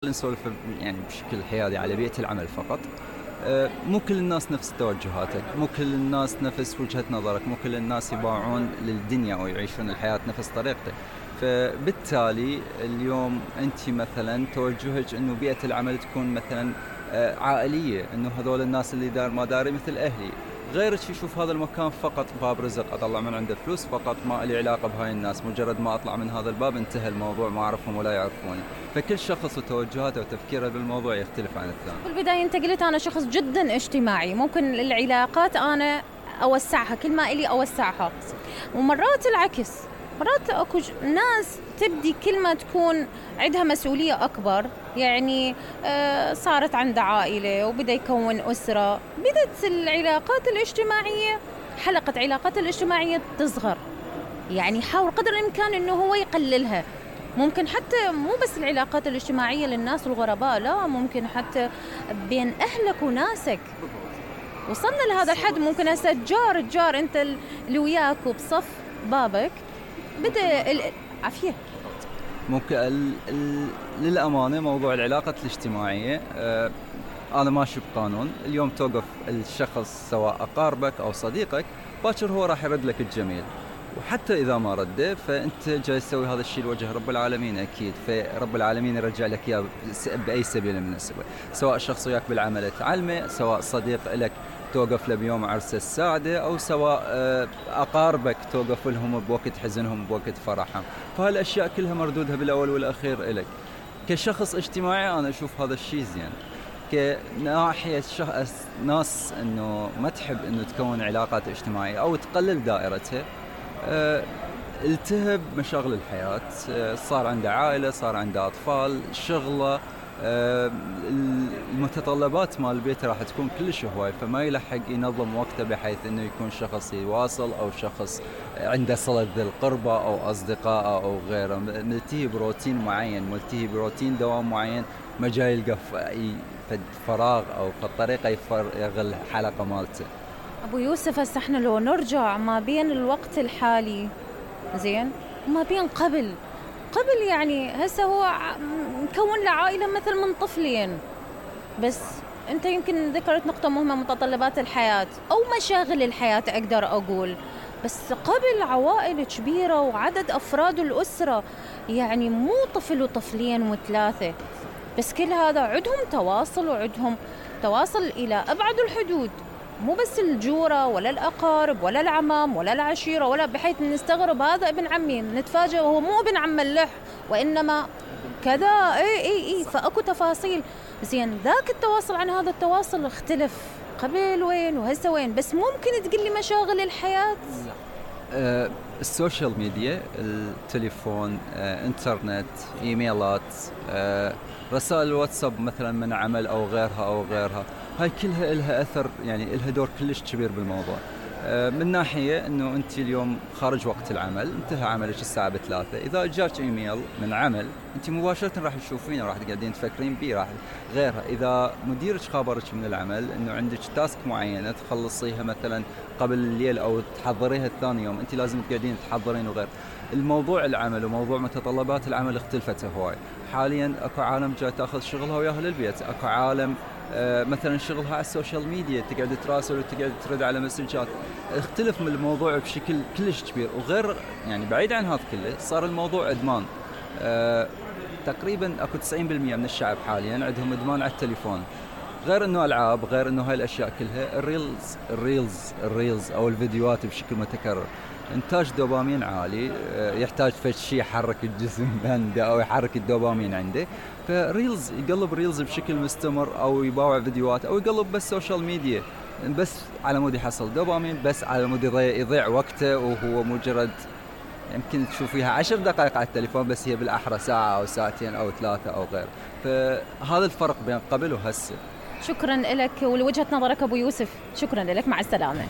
نسولف يعني بشكل حيادي على بيئة العمل فقط. مو كل الناس نفس توجهاتك، مو كل الناس نفس وجهة نظرك، مو كل الناس يباعون للدنيا أو يعيشون الحياة نفس طريقتك. فبالتالي اليوم أنت مثلا توجهك أنه بيئة العمل تكون مثلا عائلية، أنه هذول الناس اللي دار ما داري مثل أهلي. غيرك يشوف هذا المكان فقط باب رزق، أطلع من عنده فلوس فقط، ما لي علاقة بهاي الناس، مجرد ما أطلع من هذا الباب انتهى الموضوع، ما أعرفهم ولا يعرفوني. فكل شخص وتوجهاته وتفكيره بالموضوع يختلف عن الثاني. بالبداية أنت قلت أنا شخص جدا اجتماعي، ممكن العلاقات أنا أوسعها كل ما إلي أوسعها، ومرات العكس، مرات أكو ناس تبدي كل ما تكون عندها مسؤولية أكبر، يعني صارت عندها عائلة وبدأ يكون أسرة، بدت العلاقات الاجتماعية، حلقة علاقات الاجتماعية تصغر. يعني يحاول قدر الإمكان إنه هو يقللها. ممكن حتى مو بس العلاقات الاجتماعية للناس الغرباء، لا، ممكن حتى بين أهلك وناسك. وصلنا لهذا الحد، ممكن هسه الجار أنت اللي وياك وبصف بابك بدأ عافية. ممكن للأمانة موضوع العلاقة الاجتماعية أنا ماشي بقانون، اليوم توقف الشخص سواء أقاربك أو صديقك، باكر هو راح يرد لك الجميل، وحتى إذا ما رده فأنت جاي تسوي هذا الشيء لوجه رب العالمين أكيد، فرب العالمين يرجع لك إياه بأي سبيل من السبل، سواء شخص وياك بالعمل تعلمه، سواء صديق لك توقف له بيوم عرسه السعادة، أو سواء أقاربك توقف لهم بوقت حزنهم بوقت فرحهم. فهالأشياء كلها مردودها بالأول والأخير إلك. كشخص اجتماعي أنا أشوف هذا الشيء زين. كناحية ناس إنه ما تحب إنه تكون علاقات اجتماعية أو تقلل دائرتها، التهب مشاغل الحياة، صار عنده عائلة، صار عنده أطفال، شغله، المتطلبات مال البيت راح تكون كلش هواي، فما يلحق ينظم وقته بحيث انه يكون شخص يواصل او شخص عنده صلة ذي القربة او اصدقاء او غيره، ملتهي بروتين معين، ملتهي بروتين دوام معين، ما جاي يلقى فراغ او فالطريقة يفرغ الحلقة مالته. أبو يوسف، هسه احنا لو نرجع ما بين الوقت الحالي زين وما بين قبل يعني هسه هو مكون له عائلة مثل من طفلين بس. انت يمكن ذكرت نقطة مهمة، متطلبات الحياة أو مشاغل الحياة أقدر أقول، بس قبل عوائل كبيرة وعدد أفراد الأسرة، يعني مو طفل وطفلين وثلاثة بس، كل هذا عندهم تواصل وعندهم تواصل إلى أبعد الحدود، مو بس الجورة ولا الأقارب ولا العمام ولا العشيرة، ولا بحيث نستغرب هذا ابن عمي نتفاجأ وهو مو ابن عم اللح وإنما كذا. اي فأكو تفاصيل زين. ذاك التواصل عن هذا التواصل اختلف، قبل وين وهسه وين؟ بس ممكن تقول لي مشاغل الحياة؟ السوشيال ميديا، التليفون، انترنت، ايميلات، رسائل الواتساب مثلا من عمل او غيرها، هاي كلها لها اثر، يعني لها دور كلش كبير بالموضوع. من ناحية انه انت اليوم خارج وقت العمل، انتهى عملك الساعة 3، اذا جاك ايميل من عمل انت مباشرة راح تشوفينه، راح تقعدين تفكرين بيه، راح غيرها. اذا مديرك خابرك من العمل انه عندك تاسك معينة تخلصيها مثلا قبل الليل او تحضريها الثاني يوم، انت لازم تقعدين تحضرين وغير. الموضوع العمل وموضوع متطلبات العمل اختلفت هواي. حاليا اكو عالم جاي تاخذ شغلها وياها للبيت، اكو عالم مثلا شغلها على السوشيال ميديا، تقعد تراسل وتقعد ترد على مسجات. اختلف من الموضوع بشكل كلش كبير، وغير يعني بعيد عن هذا كله صار الموضوع ادمان. تقريبا اكو 90% من الشعب حاليا عندهم ادمان على التليفون، غير انه العاب، غير انه هاي الاشياء كلها، الريلز او الفيديوهات بشكل متكرر، انتاج دوبامين عالي، يحتاج فد شيء يحرك الجسم عنده او يحرك الدوبامين عنده، فريلز يقلب ريلز بشكل مستمر، او يباوع فيديوهات، او يقلب بس سوشيال ميديا بس على مود يحصل دوبامين، بس على مود يضيع وقته، وهو مجرد يمكن تشوفيها 10 دقائق على التليفون بس هي بالأحرى ساعة أو ساعتين أو 3 أو غير. فهذا الفرق بين قبل وهسه. شكرا لك ولوجهة نظرك أبو يوسف، شكرا لك، مع السلامة.